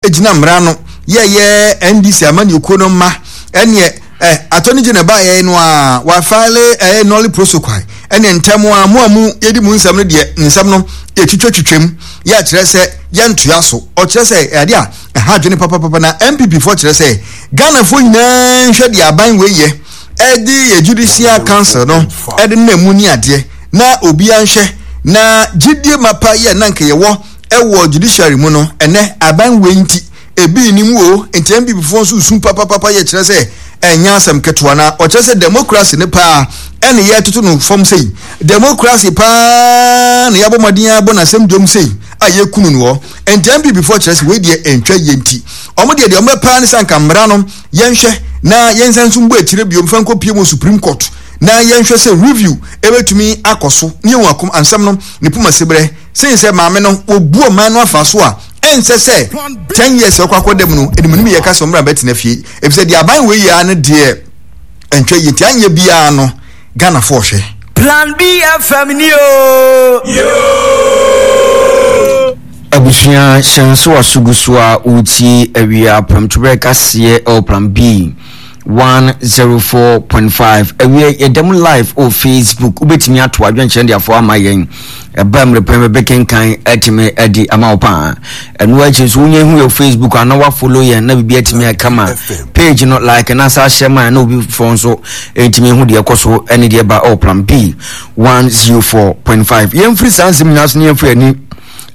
gyina mmara no yɛyɛ NDC amanyɔkuo no mma ɛneɛ eh, attorney general baayɛ no a wafile ɛyɛ nolly prosequi ɛne ntɛm a mo a mo yɛdi mu nsɛm no deɛ nsɛm no yɛtwitwatwitwam yɛ akyerɛ sɛ yɛntoa so. Ɔkyerɛ sɛ ɛade a ɛha adwene papapapa na NPP foɔ kyerɛ sɛ Ghanafoɔ nyinaa nhwɛ deɛ aban wei yɛ ɛde yɛ judicial council no ɛde nam mu ne adeɛ na obiara nhwɛ na gyidie mapa yɛ na nka yɛwɔ ɛwɔ judiciary mu no ɛnɛ aban wei nti ebi nni mu o. Nti NPP foɔ nso su papapapa yɛ kyerɛ sɛ ɛnyɛ asɛm ketewa na ɔkyerɛ sɛ democracy ne paa ɛne yɛtoto no fam sei, democracy paa na yɛabɔ mmɔden abɔ n'asɛm dwom sei a yɛkunu no hɔ. Nti NPP foɔ kyerɛ sɛ wei deɛ ɛntwa yie, nti wɔn deɛ deɛ wɔbɛpaa ne sɛ anka mmara no yɛnhwɛ na yɛnsan nso mbɔ akyire bio mfa nkɔ pie mu Supreme Court na yɛnhwɛ sɛ review ɛbɛtumi akɔ so ne yɛhu akom ansɛm no ne poma seberɛ sen sɛ maame no wɔbu ɔman no afa so a ɛnsɛ sɛ 10 years ɛkɔ akɔda mu no ɛnimunim yɛka sɛ ɔmmra bɛtena fie efisɛ deɛ aban wei yɛ no deɛ ɛntwa yie, nti anyɛ biara no Ghanafoɔ hwɛ. Plan B FM ni o. Abusua hyɛnso aso gu so a wotie awia prɛmtoberɛ kaseɛ ɛwɔ Plan B 104.5 awia. Yɛda mu live wɔ Facebook, wobɛtumi ato adwenkyerɛ de afoɔ ama yɛn, ɛba mmerɛ pɛn bɛbɛkenkan atumi adi ama wo paa. Ɛno akyi nso wonya hu yɛ Facebook ana wafollow yɛn na biribi atumi akama page no, like na sa ahyɛ ma na obi foforɔ nso ɛntumi hu deɛ ɛkɔ so ɛne deɛ ɛba ɛwɔ Plan B 104.5. Yɛmfiri saa nsɛm nyinaa so ne yɛmfiri ani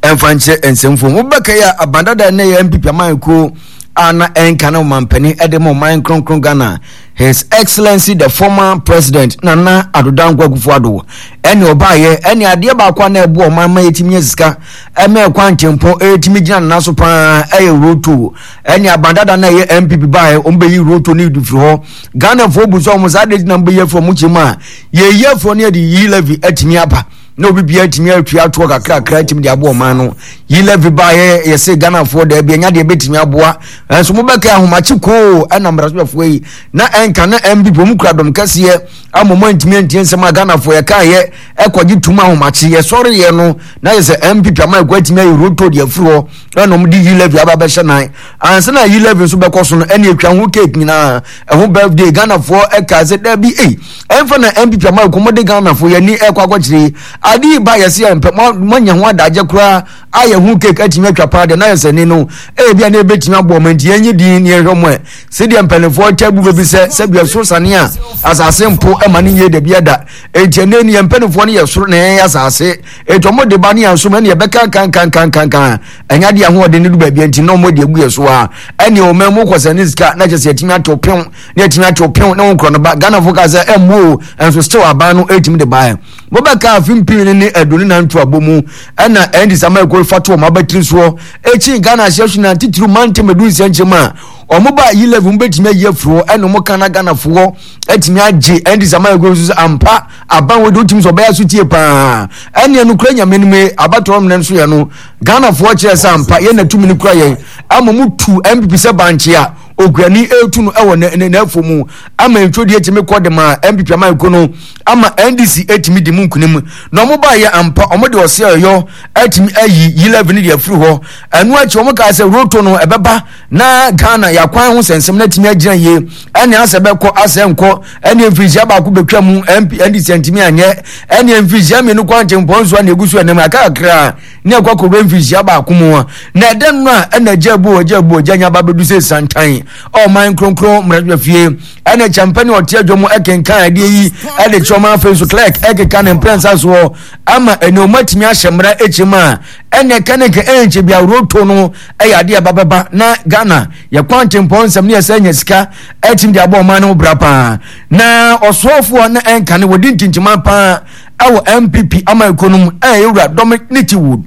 ɛmfa nkyerɛ nsɛmfo wobɛka yi a abandada ne yɛ NPP amankuo a na ɛnka ne ɔmampanin ɛde ma ɔman kronkron Ghana, His Excellency the former President Nana Addo Dankwa Akufo-Addo, ɛne ɔbaayɛ ɛne adeɛ baako a na ɛboa ɔman ma yɛtumi nya sika ɛma ɛkwan ntempɔn ɛtumi gyina nana so paa ɛyɛ roto. Ɛne abandada na ɛyɛ NPP baayɛ wɔn bɛyi roto ne firi hɔ. Ghanafoɔ bu sɛ wɔn saa de gyina bɛyi afiri wɔn kyɛm a yɛyi afiri ne yɛde yi levy atumi aba na obi bia atumi atua atoɔ kakrakra atumi de aboa ɔman no. Yi levy baayɛ yɛsɛ Ghanafoɔ daabi ɛnya deɛ ɛbɛtumi aboa ɛnso mobɛka ahomakye koo ɛna mmarahyɛfoɔ yi na ɛnka na NPP wɔn kura dɔm kɛseɛ ama wɔn antumi antie nsɛm a Ghanafoɔ yɛkaeɛ ɛkɔgye tum ahomakye yɛsɔreeɛ no na yɛ sɛ NPP ama ɛkɔ atumi ayi roto deɛ afiri hɔ ɛna wɔn de yi levy aba bɛhyɛ nan ansa na yi levy nso bɛkɔ so no ɛna atwa ho cake nyinaa ɛho birthday. Ghanafoɔ ɛka sɛ daabi ei ɛnfa na NPP ama ɛkɔ mo de Ghanafoɔ yɛn ani ɛkɔ akɔkyerɛ yi ade yi ba yɛsi yɛn mpɛ mo anya ho adagye koraa ayɛ ho cake atumi atwa paa deɛ na yɛ sɛ ne no ebi a na ebetumi aboɔ mo nti yɛn nye din ne yɛhwɛ mo ɛ sɛdeɛ mpanimfoɔ kyɛ bu baabi sɛ sɛbi ɛsoro sane a asase mpo ɛma ne yie dabi ɛda. Eti ɛnɛ ni yɛn mpanimfoɔ no yɛ soro na yɛn yɛ asase, eti wɔn de ba ne yɛn so ma ɛne yɛbɛka kankankankankan ɛnya de ahoɔden ne du baabi nti na wɔn de agu yɛ so a ɛne wɔn mu kɔ sɛ ne sika na kyɛ sɛ yɛtumi atew pew na yɛtumi atew pew na wɔn korɔ no ba. Ghanafoɔ ka sɛ ɛmmu o, ɛnso still aban no ɛtumi de ba yɛ mobɛka afe mpii ne ne aduonu nan to abɔ mu ɛna ɛndi sama ɛkɔ fa to wɔn abatiri soɔ ekyi Ghana ahyɛ so na titiriw mantam edu nsɛnkyɛm a wɔn ba yi level bɛtumi ayi afiri hɔ ɛna wɔn ka na Ghanafoɔ atumi agye ɛnde sama ɛkɔ nso sɛ ampa aban wɔ de wotumi sɛ ɔbɛyɛ so tie paa ɛne ɛno kura nyame no mu abatoɔ mmerɛ nso yɛ no Ghanafoɔ kyerɛ sɛ ampa yɛn na tumi no kura yɛn ama mu tu NPP sɛ bankye a okuani ɛretu no ɛwɔ n'afo mu ama ntwodie tumi kɔ de ma NPP ama ɛko no ama NDC ɛtumi di mu nkunim na ɔmo baayɛ ampa ɔmo de ɔse ɛyɔ ɛtumi ayi yi levy no de afiri hɔ. Ɛno akyi ɔmo kaa sɛ roto no ɛbɛba na Ghana yɛakwan ho sɛnsɛm no atumi agyina yie ɛne asɛ bɛkɔ asɛ nkɔ ɛne mfirihyia baako bɛtwa mu MP NDC antumi anyɛ ɛne mfirihyia mmienu kɔ antempɔn nso a na ɛgu so ɛnam aka kakra ne ɛkɔ akɔwura mfirihyia baako mu a na ɛdɛ no a ɛna agya abu agya abu agya nya ba bɛdu sɛ santan ɔman kronkron mmarahyɛ fie ɛna kyɛmpɛ ne ɔte adwa mu ɛkenkan adeɛ yi ɛde kyerɛ ɔman. Afei nso clerk ɛkeka ne mprɛnsa soɔ ama ɛne ɔma atumi ahyɛ mmara akyim a ɛne ɛka ne nka ɛnkyɛ bi aworonto no ɛyɛ adeɛ ɛba bɛba na Ghana yɛ kwantempɔn nsɛm ne yɛsɛ nya sika ɛtumi de abɔ ɔman no ho bra paa. Na ɔsoafoɔ na ɛnka ne wɔdi ntintiman paa ɛwɔ NPP ama ɛkɔ no mu ɛyɛ wura Dominic Wood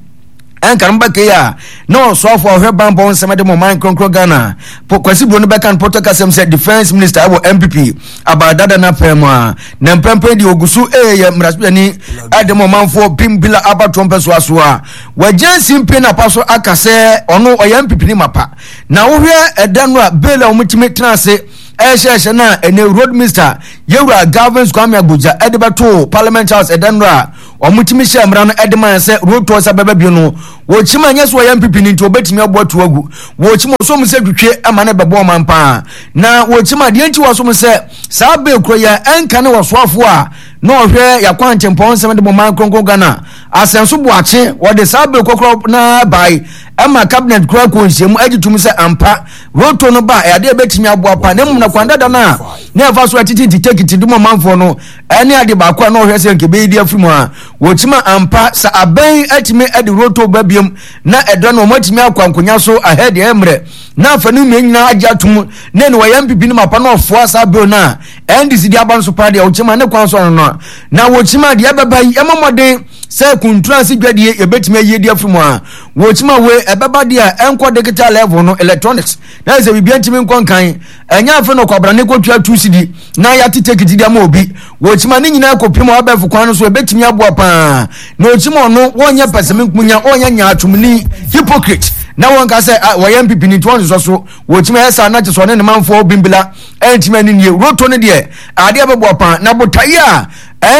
ɛnka no bɛka yi a na ɔsoafoɔ a ɔhwɛ banbɔ nsɛm de ma ɔman kronkron Ghana Kwasi Buro no bɛka no pɔtɔ kasɛm sɛ defence minister ɛwɔ NPP abadada no apɛn mu a na mprempren deɛ ɔgu so ɛyɛ mmarahyɛbadwani ɛde ma ɔmanfoɔ Bimbila abatoɔ mpɛsoa so a wagyina simpie no apa so aka sɛ ɔno ɔyɛ NPP ne mapa. Na wohwɛ ɛda no a bail a wɔtumi tena ase ɛhyɛhyɛ no a ɛnɛ road minister yɛwura Galvins Kwame Agbodza ɛde bɛto Parliament House ɛda no a Wɔtumi hyɛɛ mmara no de maa sɛ road toll sɛ bɛba bio no, wɔkyim a ɛnyɛ sɛ wɔyɛ NPP no nti wɔbɛtumi abu ato agu. Wɔkyim ɔsom sɛ twitwe ma no bɛbɔ ɔman paa. Na wɔkyim a deɛ nti wɔsom sɛ saa bere koro yi a ɛnka ne wɔsoafoɔ a na ɔhwɛ yɛakwantempɔn nsɛm de bɔ man kronkron Ghana Asɛnso Boakye wɔde saa bere kɔkorɔ na bae ɛma cabinet koraa kɔ nhyiamu agye tom sɛ ampa road toll no ba a ɛyɛ adeɛ a ɛbɛtumi aboa paa na mmom na kwan dada no a na ɛfa so atete ntitekiti de ma ɔmanfoɔ no Ɛne ade baako a na ɔhwɛ sɛ nka ɛbɛyi de afiri mu a wɔkyim a ampa sɛ abɛn atumi de roto ba biom na ɛdɔ no wɔn atumi akɔ ankonya so ahɛ deɛ mmerɛ na afa no mmea nyinaa agye atom na ɛne wɔyɛ mpipi no mapa na ɔfoa saa bill no a NDC de aba no so paa deɛ wɔkyim a ne kwan so ano no a na wɔkyim a deɛ ɛbɛba yi ɛma mmɔden sɛ kuntuna ase dwadie yɛbɛtumi ayie de afiri mu a wɔkyim a wei ɛbɛba deɛ a ɛnkɔ digital level no electronics na ɛsɛ biribi ntumi nkɔ nkan ɛnyɛ afei na ɔkwabrane kɔtua tu sidi na yɛate tekiti de ama obi wɔkyima ne nyinaa kɔpem abɛɛfo kwan no so ɛbɛtumi aboa paa na ɔkyima ɔno wɔnyɛ pɛsɛmenkonya ɔnyɛ nyaatwomni hypocrite na wɔnka sɛ ah, wɔyɛ mpipi ne nti wɔnsosɔ so wɔkyima ɛyɛ saa na kyɛ sɛ ɔne ne manfoɔ bimbila ɛntumi ani nie roto no deɛ adeɛ bɛboa paa na botaeɛ a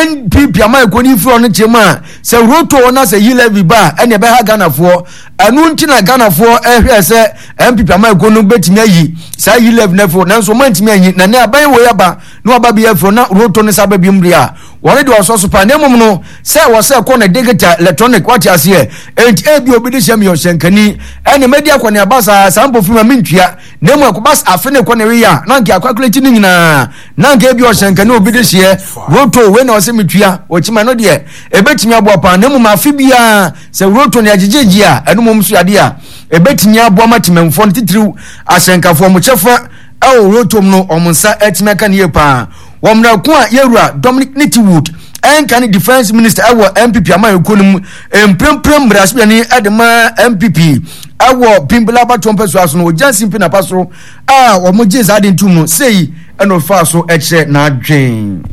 npp ama ɛkɔ ne firi ɔno kyerɛ mu a sɛ roto na sɛ yi levy ba a ɛne ɛbɛha ghanafoɔ Ɛno nti na Ghanafoɔ ɛhwɛɛ sɛ NPP amanyɔkuo no bɛtumi ayi saa yi levy no afiri hɔ nanso wɔn antumi anyi na nɛ aban wei aba na waba bi afiri hɔ na roto no sa aba biom deɛ a wɔn deɛ ɔsɔ so paa na mmom no sɛ wɔ sɛ kɔ no digital electronic wate aseɛ enti ebi obi de hyɛ mi ɔhyɛnkani ɛne mɛdi akɔneaba saa saa mpofiri ma mentua na mmom ɛkɔba afe ne kɔ ne weyɛ a na nka akwakulati no nyinaa na nka ebi ɔhyɛnkani obi de hyeɛ roto wei na ɔsɛ metua ɔkyima no deɛ ɛbɛtumi aboa paa na mmom afe biara Sɛ roto ne agyegyegye a, ɛno mmom nso yɛ adeɛ a ɛbɛtumi aboa ma temamfoɔ no titiriw ahyɛnkafoɔ wɔn kyɛfa wɔ rotom no wɔn nsa atumi aka no yie paa. Wɔ mmerɛ ko a yɛwura Dominic Nitiwood ɛnka ne defense minister ɛwɔ NPP amanyɔkuo no mu mprempren mmarahyɛbadwani de ma NPP ɛwɔ Bimbila abatoɔ mpasua so no ɔgya Simpi Napa so a wɔn gye saa de ntom no sei ɛna ɔfaa so ɛkyerɛ n'adwen.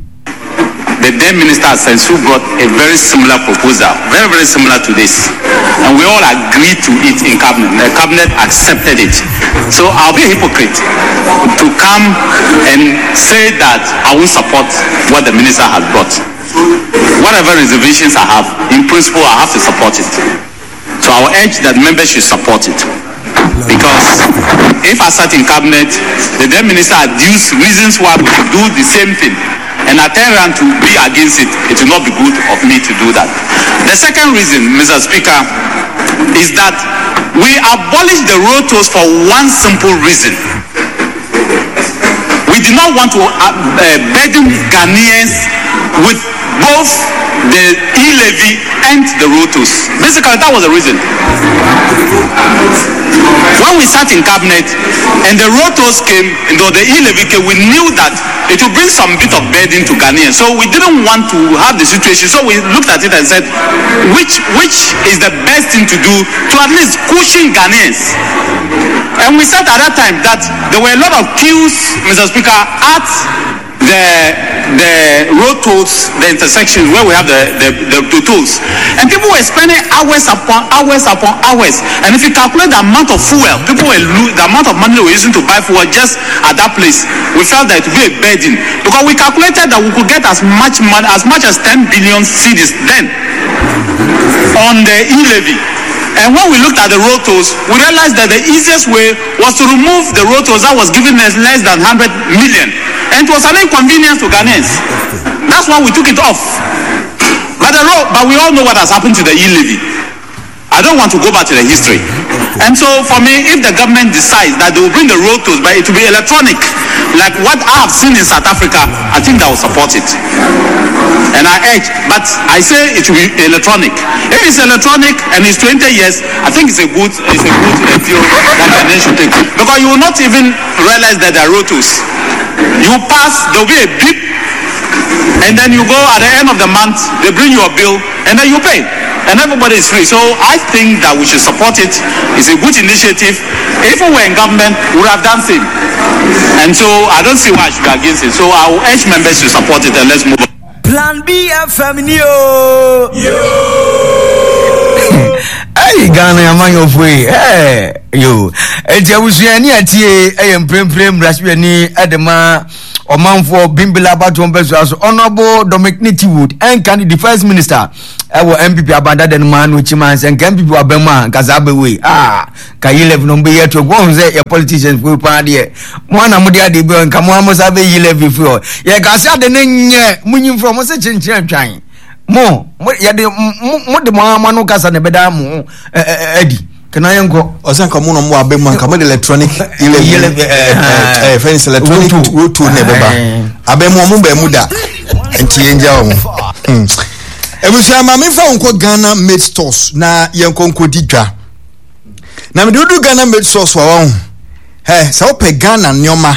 The then minister Asensu brought a very similar proposal, very, very similar to this. And we all agreed to it in cabinet. The cabinet accepted it. So I'll be a hypocrite to come and say that I won't support what the minister has brought. Whatever reservations I have, in principle, I have to support it. So I will urge that members should support it. Because if I sat in cabinet, the then minister adduced reasons why we should do the same thing, and I turn around to be against it, it will not be good of me to do that. The second reason, Mr. Speaker, is that we abolished the road tolls for one simple reason. We did not want to uh, uh, burden Ghanaians with both the e-levy and the road tolls. Basically, that was the reason. When we sat in cabinet and the road tolls came, and the e-levy came, we knew that it would bring some bit of burden to Ghanaians. So we didn't want to have the situation. So we looked at it and said, which, which is the best thing to do to at least cushion Ghanaians? And we said at that time that there were a lot of queues, Mr. Speaker, at the the road tolls, the intersections where we have the, the, the, the tolls. And people were spending hours upon hours upon hours. And if you calculate the amount of fuel, people were lo- the amount of money they were using to buy fuel just at that place, we felt that it would be a burden. Because we calculated that we could get as much money, as much as 10 billion cedis then on the e-levy. And when we looked at the road tolls, we realized that the easiest way was to remove the road tolls that was giving us less than 100 million. And it was an inconvenience to Ghanaians. That's why we took it off. But, the road, but we all know what has happened to the e-levy. I don't want to go back to the history. And so for me, if the government decides that they will bring the road tolls, but it will be electronic, like what I have seen in South Africa, I think that will support it. And I urge, but I say it will be electronic. If it's electronic and it's 20 years, I think it's a good, it's a good view that Ghanaians should take. Because you will not even realize that there are road tolls. You pass, there will be a beep, and then you go at the end of the month, they bring you a bill, and then you pay. And everybody is free. So I think that we should support it. It's a good initiative. If we were in government, we would have done same. And so I don't see why I should be against it. So I will urge members to support it and let's move on. Plan B FM ni o. Hey, Ghana amanyɔfoɔ yi hey, yo eti abusua ni atie ɛyɛ mprempren mmarahyɛbadwani ɛde ma. Ɔmanfoɔ Bimbila abatoɔ mpɛsoa so Honourable Dominic Nitiwood ɛnka ne defence minister ɛwɔ NPP abandada no mu ano kyima sɛ nka NPP waba mu a nka saa bɛwei ah ka yi levy no mbɛyi ato wɔn sɛ yɛ politicians fo paa deɛ mo ana mo de adeɛ bi nka mo amo sa bɛyi levy fi hɔ yɛ ka se ade ne nyɛ mo nyi mfrɛ mo se kyenkyen atwan mo mo yɛde mo mo de mo ama no kasa na ɛbɛda mo adi kana yɛn kɔ. Ɔsɛ nka mo na mo abɛ mu anka mo de electronic eleven ɛɛ fɛn sɛ electronic roto na ɛbɛba abɛ mu ɔmo bɛn mu da nti yɛn gya wɔn. Ebusua maame fa wɔn kɔ Ghana made stores na yɛn kɔ nkɔ di dwa na mede wodu Ghana made stores wa wɔn hɛ sɛ wopɛ Ghana nneɛma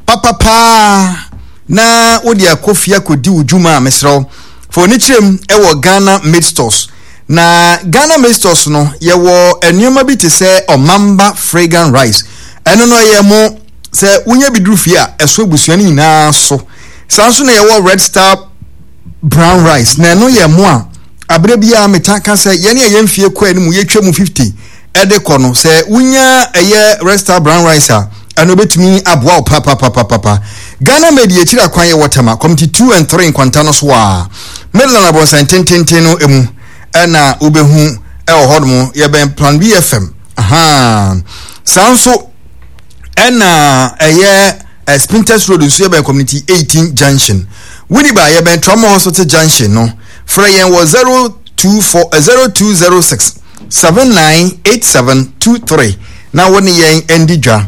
papapaa na wode akɔ fie akɔdi wo dwuma a mesrɛ wo fa w'ani kyerɛ mu wɔ Ghana made stores. Na Ghana made stores no, yɛwɔ nneɛma bi te sɛ Ɔmamba fragrant rice. Ɛno no ɛyɛ mo sɛ wonya bi duru fie a ɛso abusua no nyinaa so. Saa nso na yɛwɔ Red Star brown rice na ɛno yɛ mo a abere biara meta ka sɛ yɛne a yɛn fie kɔ anim yɛtwa mu 50 ɛde kɔ no sɛ wonya ɛyɛ Red Star brown rice a ɛno bɛtumi aboa wo papapapapa. Ghana made yɛkyiri akwan yɛwɔ Tema committee 2 and 3 nkwanta no so a Midland abɔnsan tententen no mu ɛna wobɛhu ɛwɔ hɔ nom yɛbɛn Plan B FM ahaa saa nso ɛna ɛyɛ eh, Spintex Road nso yɛbɛn Community 18 Junction Winneba yɛbɛn Trauma Hospital Junction no frɛ yɛn wɔ 024 0206 798723 na wo ne yɛn ndi dwa.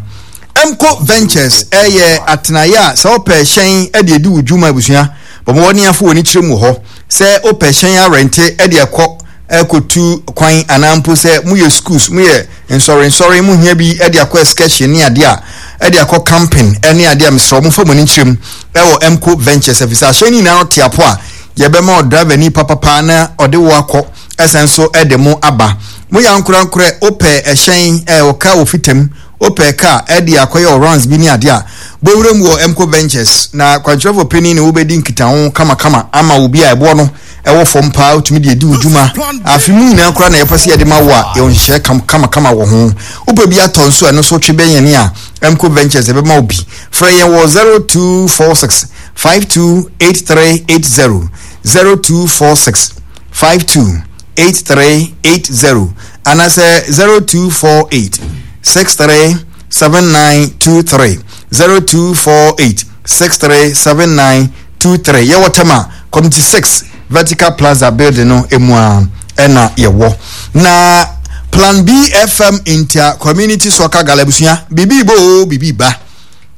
Mco Ventures yɛ atenaeɛ a sɛ wopɛ hyɛn de adi wo dwuma abusua bɔ mmɔden afo w'ani kyerɛ mu wɔ hɔ. Sɛ wopɛ hyɛn arɛnte de akɔ akɔtu kwan anaa mpo sɛ moyɛ schools moyɛ nsɔrensɔre mohia bi de akɔ excursion ne adeɛ a de akɔ camping ne adeɛ a mesrɛ mo fa mo ani kyerɛ mu ɛwɔ Mco Ventures ɛfiri sɛ ahyɛn no nyinaa no te apo a yɛbɛma ɔdriver ni papapa na ɔde wo akɔ ɛsan nso de mo aba. Moyɛ ankorankorɛ, wopɛ ɛhyɛn, ɛɛ wo car wɔ fitam, wopɛ car ɛde akɔyɛ wo rounds bi ne adeɛ a, bɔ wura mu wɔ Mco Ventures na kwankyerɛfoɔ panin ne wo bɛdi nkitaho kamakama ama wo bi a ɛboɔ no ɛwɔ fam paa wotumi de adi wo dwuma. Afe mu nyinaa koraa na yɛpɛ sɛ yɛde ma wo a, yɛwɔ nhyehyɛɛ kam kamakama wɔ ho. Wopɛ bi atɔ nso a, ɛno nso twe bɛn yɛn a Mco Ventures ɛbɛma wo bi. Frɛ yɛn wɔ 0246 528380, 0246 528380 anaasɛ 0248 637923 0248 637923 yɛwɔ Tema Community 6 Vertical Plaza building no emu a ɛna yɛwɔ na Plan B FM Inter Community Soccer Gala abusua biribi bɔ o biribi ba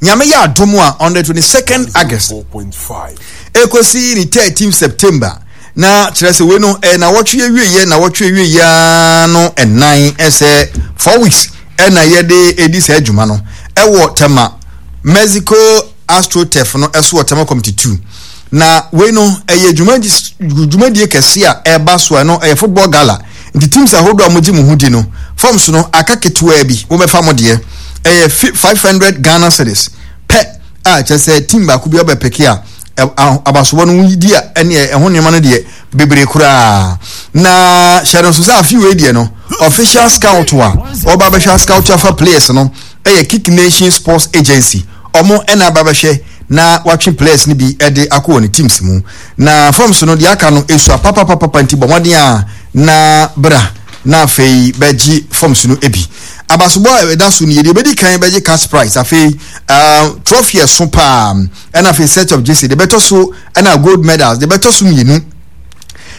Nyame yɛ adom a on the 22nd August ekosi ne 13 September Na kyerɛ sɛ wei no ɛyɛ nawɔtwe awieɛ nawɔtwe awieɛ ara no ɛnan ɛsɛ 4 weeks ɛna yɛde ɛdi saa adwuma no ɛwɔ Tema Mexico AstroTurf no ɛso wɔ Tema Committee 2 na wei no ɛyɛ dwumadie kɛse a ɛba so ɛno ɛyɛ football gala nti teams ahodoɔ a mogye mo ho di no forms no aka ketewaa bi mobɛfa mo deɛ ɛyɛ 500 Ghana cedis pɛ a kyerɛ sɛ team baako bi ɔbɛpeke a abasobɔ no di a ɛne ɛho nneɛma no deɛ bebree koraa na hyɛ no nso sɛ afi wei deɛ no official scout a ɔba bɛhwɛ scout afa players no ɛyɛ Kick Nation Sports Agency ɔmo ɛna aba bɛhwɛ na watwe players no bi ɛde akɔ wɔn teams mu na forms no deɛ aka no esua papapapa nti bɔ mmɔden a na bra na afei bɛgye forms no bi abasobɔ a ɛda so no yɛ deɛ ebedi kan bɛgye cash prize afei trophy ɛso paa ɛna afei set of jersey de bɛtɔ so ɛna gold medals de bɛtɔ so mmienu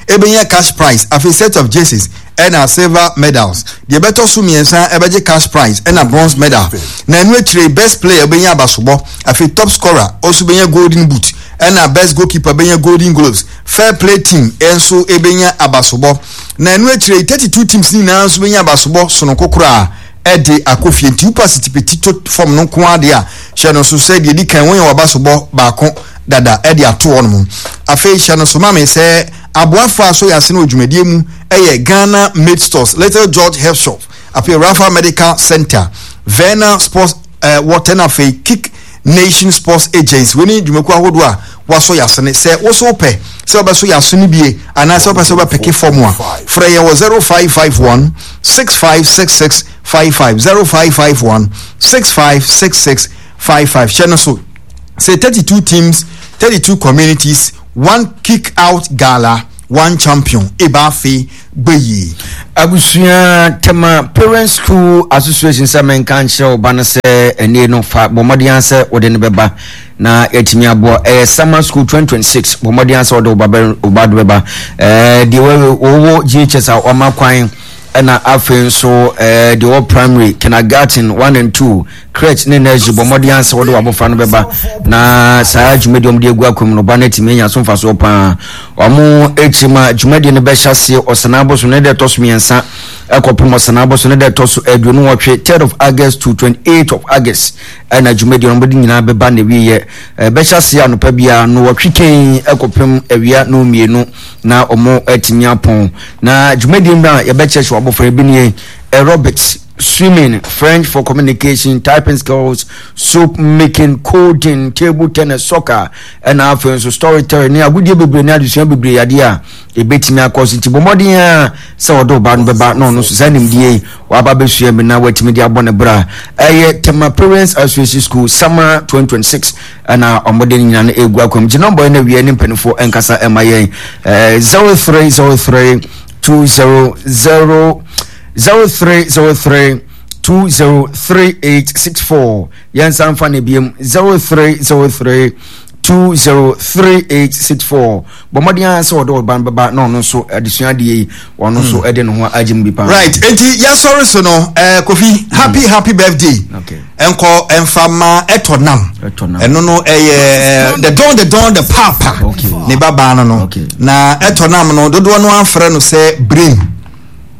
ebɛnya cash prize afei set of jerseys ɛna silver medals deɛ ɛbɛtɔ so mmiɛnsa ɛbɛgye cash prize ɛna bronze medal na ɛno akyire best player bɛnya abasobɔ afei top scorer ɔnso bɛnya golden boot ɛna best goalkeeper bɛnya golden gloves fair play team ɛnso ɛbɛnya abasobɔ na ɛno akyire 32 teams nyinaa nso bɛnya abasobɔ sononko koraa ɛde akɔ fie nti wopa sitipeti to fam no nko ara deɛ a hyɛ no so sɛ deɛ di kan wɔnyɛ w'abasobɔ baako dada ɛde ato hɔ nom afei hyɛ no so ma me sɛ aboafo a so yɛ ase no wɔ dwumadie mu ɛyɛ Ghana Made Stores Little George Health Shop afei Rafa Medical Center Verna Sports Water na afei Kick Nation Sports Agency wei ne dwumakuo ahodoɔ a wasɔ yɛ asene sɛ woso wopɛ sɛ wobɛso yɛ aso no bie anaasɛ wopɛ sɛ wobɛpeke fam a frɛ yɛn wɔ 0551 6566 55 0551 6566 55 hyɛ no so. Sɛ 32 teams, 32 communities, one kick out gala, one champion. Eba afe gbɛyie. Abusua Tema Parents School Association sɛ menka nkyerɛ wo ba no sɛ ɛnie no fa bɔ mmɔden ara sɛ wode no bɛba na yɛatumi aboa. Ɛyɛ Summer School 2026 bɔ mmɔden ara sɛ wode wo ba bɛ wo ba do bɛba. Ɛɛ deɛ wɔwɔ GHS a wɔama kwan ɛna afei nso ɛɛ deɛ wɔ primary kindergarten 1 and 2 Crèche ne nursery, bɔ mmɔden ara sɛ wode w'abɔfra no bɛba na saa dwumadi a wɔde agu akwan mu no, ɔba no atumi anya so mfasoɔ paa. Wɔn akyi ma dwumadie no bɛhyɛ aseɛ Ɔsanaa bosom ne da ɛtɔ so mmiɛnsa ɛkɔpem Ɔsanaa bosom ne da ɛtɔ so 28, 3rd of August to 28th of August, ɛna dwumadie no wɔde nyinaa bɛba na awieɛ. Ɛbɛhyɛ aseɛ anɔpa biara nnɔwɔtwe kɛn ɛkɔpem awia nnɔnmienu na wɔn atumi apɔn. Na dwumadie no a yɛbɛkyerɛkyerɛ w'abɔfra bi nie, aerobics, swimming, French for communication, typing skills, soap making, coding, table tennis, soccer, ɛna afei nso storytelling ne agodie bebree ne adesua bebree adeɛ a ɛbɛtumi akɔ so. Nti bɔ mmɔden a sɛ ɔde ɔba no bɛba na ɔno nso saa nimdeɛ yi waba bɛsua bi na watumi de abɔ ne bra. Ɛyɛ Tema Parents Association School Summer 2026 ɛna wɔde ne nyinaa no ɛgu akwam. Gye nɔmbɔ yi na wie ne mpanimfoɔ ɛnkasa ɛma yɛn 0303 200 0303 203864. Yɛnsan fa no biom, 0303 203864. Bɔ mmɔden ara sɛ ɔde ɔba no bɛba na ɔno nso adesua adeɛ yi ɔno nso hmm. de ne ho agye mu bi paa. Right, enti yɛsɔre so no eh, Kofi hmm. happy happy birthday. Okay. Nkɔ ɛnfa ma ɛtɔ nam ɛno no ɛyɛ eh, the don the don the papa ne ba baa no no na ɛtɔ nam no dodoɔ no afrɛ no sɛ brain.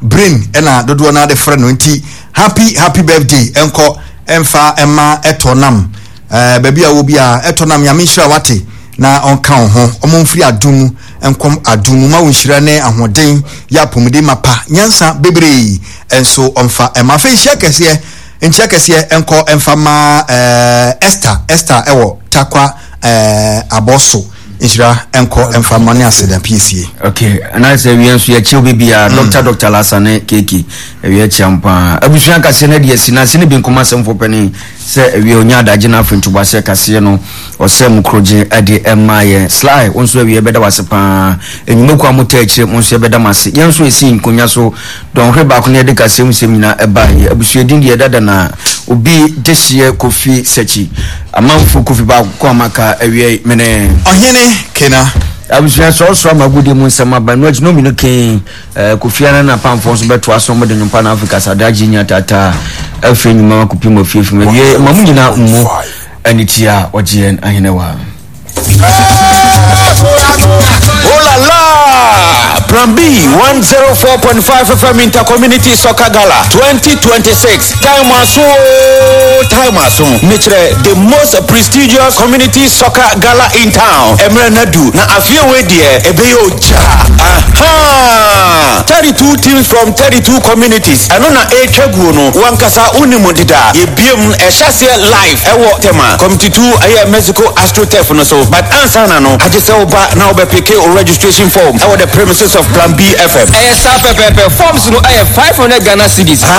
Brain ɛna dodoɔ no ara de frɛ no nti happy happy birthday ɛnkɔ ɛnfa ɛma ɛtɔ nam ɛɛ baabi a wɔ biara ɛtɔ nam Nyame nhyira wate na ɔnka wo ho ɔmo mfiri adom mu nkɔm adom mu ma wo nhyira ne ahoɔden yɛ apɔmuden mapa nyansa bebree ɛnso ɔmfa ɛma afei nhyia kɛseɛ nkyia kɛseɛ ɛnkɔ ɛnfa ma ɛɛ Esther Esther ɛwɔ Takwa ɛɛ abɔso. Nhyira nkɔ mfa mma ne aseda piesie. Okay, anaasɛ awia nso yɛkyɛ obi biara mm. Dr. Dr. Lasa ne Keke awia kyia mpaa abusua kaseɛ no adi asi n'ase ne bi nkɔm asɛmfo panin sɛ awia onya adagye no afei ntoboaseɛ kaseɛ no ɔsɛ mu korogye de ɛma yɛn Sly wo nso awia bɛda wase paa enyimako a motɛ akyire mo nso yɛbɛda mo ase yɛn nso esi nkonya so dɔnhwere baako ne yɛde kaseɛ mu sɛm nyinaa ɛba yɛ abusua din deɛ dada na obi dehyeɛ Kofi Sakyi Amanfo Kofi baako a maka awiei mene. Ɔhene Kena. Abusua sɔɔsɔɔ ama agodie mu nsɛm aba ɛno akyi no mmienu kee eh, Kofi Annan na apamfoɔ nso bɛtoa so wɔde nnwompa na Afrika sadagye nya taataa afiri nnwuma ma kɔpem afiefim awie ma mo nyinaa mmu ɛne tia ɔgye yɛn ahenewa. Oh la la! Plan B 104.5 FM Intercommunity Soccer Gala 2026. Time aso, time aso. Mekyerɛ the most prestigious community soccer gala in town. Emre Nadu na afie we deɛ ɛbɛyɛ ogya. Aha! 32 teams from 32 communities. Ɛno na ɛretwa guo no. Wankasa wonim deda. Yɛbiem ɛhyɛ aseɛ live ɛwɔ Tema. Committee 2 ɛyɛ Mexico AstroTurf no so. But ansa na no, agye sɛ woba na wobɛpeke wo registration form ɛwɔ the premises of Plan B FM. Ɛyɛ saa pɛpɛɛpɛ, forms no ɛyɛ 500 Ghana cedis.